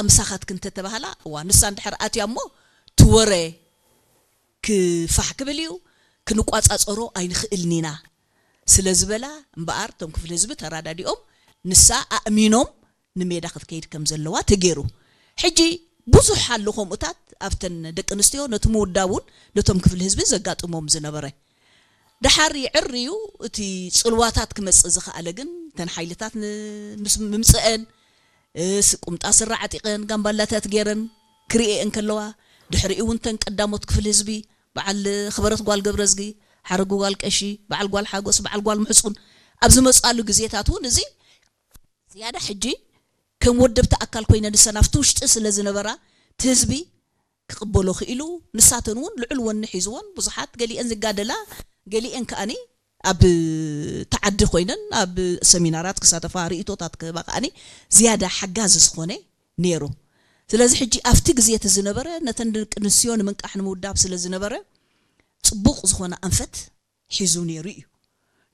ምሳኻትክን እንተተባህላ፣ እዋ ንሳ እንድሕር ኣትያ እሞ ትወረ ክፋሕ ክብል እዩ፣ ክንቋጻጸሮ ኣይንኽእልን ኢና ስለ ዝበላ እምበኣር፣ እቶም ክፍሊ ህዝቢ ተራዳዲኦም ንሳ ኣእሚኖም ንሜዳ ክትከይድ ከም ዘለዋ ተገይሩ። ሕጂ ብዙሕ ኣሎ ከምኡታት ኣብተን ደቂ ኣንስትዮ፣ ነቲ ምውዳብ እውን ነቶም ክፍሊ ህዝቢ ዘጋጥሞም ዝነበረ። ደሓር ይዕር እዩ፣ እቲ ጽልዋታት ክመጽእ ዝኸኣለ ግን እተን ሓይልታት ን-፣ ምስ ምምጽአን፣ እ፣ ስ-፣ ቁምጣ ስረ ዓጢቐን ጋምባላታት ገይረን ክርእየን ከለዋ፣ ድሕሪኡ እውን እተን ቀዳሞት ክፍሊ ህዝቢ፣ በዓል ክበረት ጓል ገብረዝጊ፣ ሓረጉ ጓል ቀሺ፣ በዓል ጓል ሓጎስ፣ በዓል ጓል ምሕጹን ኣብ ዝመጻሉ ግዜታት እውን እዚ ዝያዳ ሕጂ ከም ወደብቲ ኣካል ኮይነን ንሰን ኣብቲ ውሽጢ ስለ ዝነበራ፣ እቲ ህዝቢ ክቕበሎ ክኢሉ፣ ንሳተን እውን ልዑል ወኒ ሒዝወን፣ ብዙሓት ገሊአን ዝጋደላ፣ ገሊአን ከኣኒ ኣብ ተዓዲ ኮይነን ኣብ ሰሚናራት ክሳተፋ፣ ርእይቶታት ክህባ ከኣኒ ዝያዳ ሓጋዚ ዝኾነ ነይሩ። ስለዚ ሕጂ ኣብቲ ግዜ እቲ ዝነበረ ነተን ደቂ ኣንስትዮ ንምንቃሕ ንምውዳብ ስለ ዝነበረ፣ ጽቡቕ ዝኾነ ኣንፈት ሒዙ ነይሩ እዩ።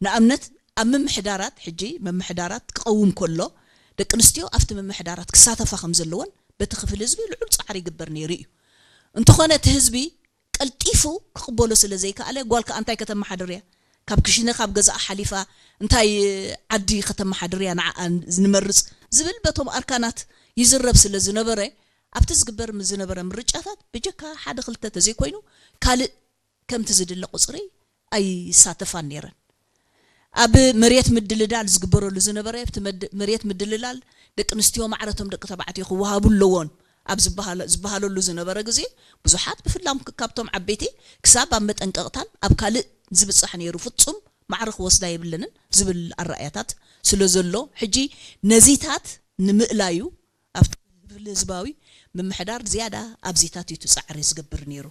ንኣብነት ኣብ ምምሕዳራት፣ ሕጂ ምምሕዳራት ክቐውም ከሎ ደቂ ኣንስትዮ ኣብቲ ምምሕዳራት ክሳተፋ ከም ዘለወን በቲ ክፍሊ ህዝቢ ልዑል ጻዕሪ ይግበር ነይሩ እዩ። እንተኾነ እቲ ህዝቢ ቀልጢፉ ክቕበሎ ስለ ዘይከኣለ፣ ጓል ከኣ እንታይ ከተመሓድር እያ? ካብ ክሽነ ካብ ገዛኣ ሓሊፋ እንታይ ዓዲ ከተመሓድር እያ ንዓኣ ንመርጽ ዝብል በቶም ኣርካናት ይዝረብ ስለ ዝነበረ፣ ኣብቲ ዝግበር ዝነበረ ምርጫታት ብጀካ ሓደ ክልተ ተዘይኮይኑ ካልእ ከምቲ ዝድለ ቁጽሪ ኣይሳተፋን ነይረን። ኣብ መሬት ምድልዳል ዝግበረሉ ዝነበረ፣ ኣብቲ መድ-፣ መሬት ምድልዳል ደቂ ኣንስትዮ ማዕረቶም ደቂ ተባዕትዮ ክወሃቡ ኣለዎን ኣብ ዝበሃለ-፣ ዝበሃለሉ ዝነበረ ግዜ፣ ብዙሓት ብፍላም ክ-፣ ካብቶም ዓበይቲ ክሳብ ኣብ መጠንቀቕታን ኣብ ካልእ ዝብጻሕ ነይሩ፣ ፍጹም ማዕረ ክወስዳ የብለንን ዝብል ኣረኣእያታት ስለ ዘሎ፣ ሕጂ ነዚታት ንምእላዩ ኣብቲ ክፍሊ ህዝባዊ ምምሕዳር ዝያዳ ኣብዚታት እዩ እቲ ጻዕሪ ዝገብር ነይሩ።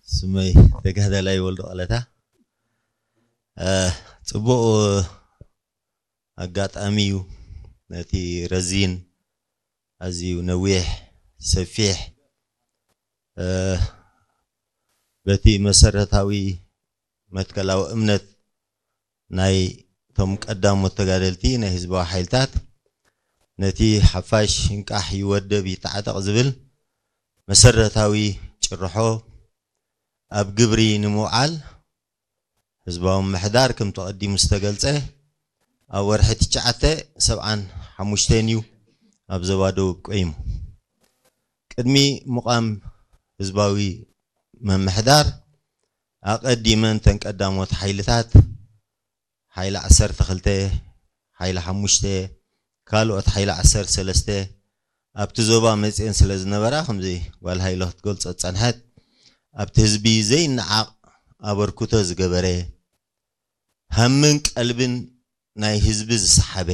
ስመይ ተጋዳላይ ወልዱ ቀለታ። እ፣ ጽቡቕ ኣጋጣሚ እዩ። ነቲ ረዚን፣ ኣዝዩ ነዊሕ፣ ሰፊሕ፣ እ፣ በቲ መሰረታዊ መትከላዊ እምነት ናይ እቶም ቀዳሞት ተጋደልቲ ናይ ህዝባዊ ሓይልታት፣ ነቲ ሓፋሽ ይንቃሕ ይወደብ ይተዓጠቕ ዝብል መሰረታዊ ጭርሖ ኣብ ግብሪ ንምውዓል፣ ህዝባዊ ምምሕዳር ከምቲ ቀዲሙ ዝተገልጸ ኣብ ወርሒ ትሽዓተ ሰብዓን ሓሙሽተን እዩ ኣብ ዞባ ደቡብ ቆይሙ። ቅድሚ ምቋም ህዝባዊ ምምሕዳር ኣቐዲመን እተን ቀዳሞት ሓይልታት፣ ሓይሊ ዓሰርተ ክልተ፣ ሓይሊ ሓሙሽተ፣ ካልኦት ሓይሊ ዓሰርተ ሰለስተ ኣብቲ ዞባ መጽየን ስለ ዝነበራ፣ ከምዚ ጓል ሃይለ ክትገልጾ ዝጸንሐት፣ ኣብቲ ህዝቢ ዘይነዓቕ ኣበርክቶ ዝገበረ፣ ሃምን ቀልብን ናይ ህዝቢ ዝሰሓበ፣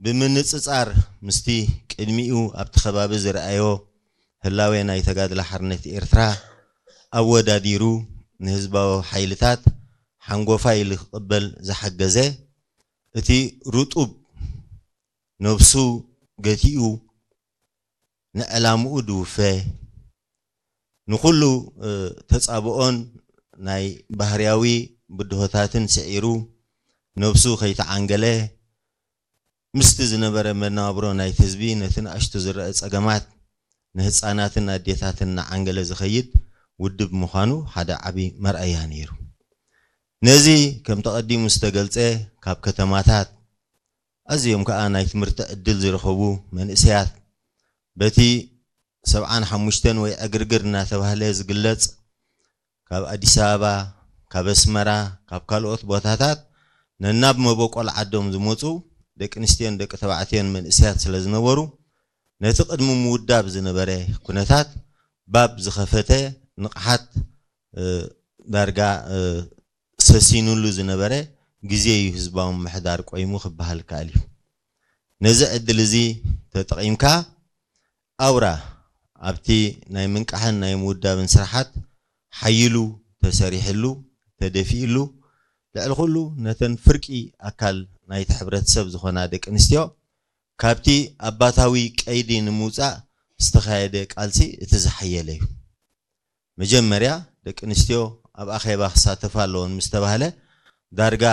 ብምንጽጻር ምስቲ ቅድሚኡ ኣብቲ ከባቢ ዝረኣዮ ህላዌ ናይ ተጋድሎ ሓርነት ኤርትራ ኣወዳዲሩ ንህዝባዊ ሓይልታት ሓንጎፋይ ኢሉ ክቕበል ዝሓገዘ፣ እቲ ርጡብ ነብሱ ገቲኡ ንዕላምኡ ድውፈ፣ ንኹሉ፣ እ፣ ተጻብኦን ናይ ባህርያዊ ብድሆታትን ስዒሩ፣ ነብሱ ከይተዓንገለ፣ ምስቲ ዝነበረ መነባብሮ ናይቲ ህዝቢ፣ ነቲ ንኣሽቱ ዝረአ ጸገማት፣ ንህጻናትን ኣዴታትን እናዓንገለ ዝኸይድ ውድብ ምዃኑ ሓደ ዓቢ መርኣያ ነይሩ። ነዚ ከም ተቐዲሙ ዝተገልጸ፣ ካብ ከተማታት ኣዝዮም ከኣ ናይ ትምህርቲ ዕድል ዝረኸቡ መንእሰያት፣ በቲ ሰብዓን ሓሙሽተን ወይ ዕግርግር እናተባህለ ዝግለጽ፣ ካብ ኣዲስ ኣበባ፣ ካብ ኣስመራ፣ ካብ ካልኦት ቦታታት ነናብ መበቆል ዓዶም ዝመጹ ደቂ ኣንስትዮን ደቂ ተባዕትዮን መንእሰያት ስለ ዝነበሩ፣ ነቲ ቅድሚ ምውዳብ ዝነበረ ኩነታት ባብ ዝኸፈተ ንቕሓት፣ እ፣ ዳርጋ፣ እ፣ ሰሲኑሉ ዝነበረ ግዜ እዩ ህዝባዊ ምምሕዳር ቆይሙ ክበሃል ይከኣል እዩ። ነዚ ዕድል እዚ ተጠቒምካ፣ ኣውራ ኣብቲ ናይ ምንቃሕን ናይ ምውዳብን ስራሓት ሓይሉ ተሰሪሕሉ፣ ተደፊእሉ፣ ልዕሊ ኩሉ ነተን ፍርቂ ኣካል ናይቲ ሕብረተሰብ ዝኾና ደቂ ኣንስትዮ ካብቲ ኣባታዊ ቀይዲ ንምውጻእ ዝተኻየደ ቃልሲ እቲ ዝሓየለ እዩ። መጀመርያ ደቂ ኣንስትዮ ኣብ ኣኼባ ክሳተፋ ኣለወን ምስ ተባህለ፣ ዳርጋ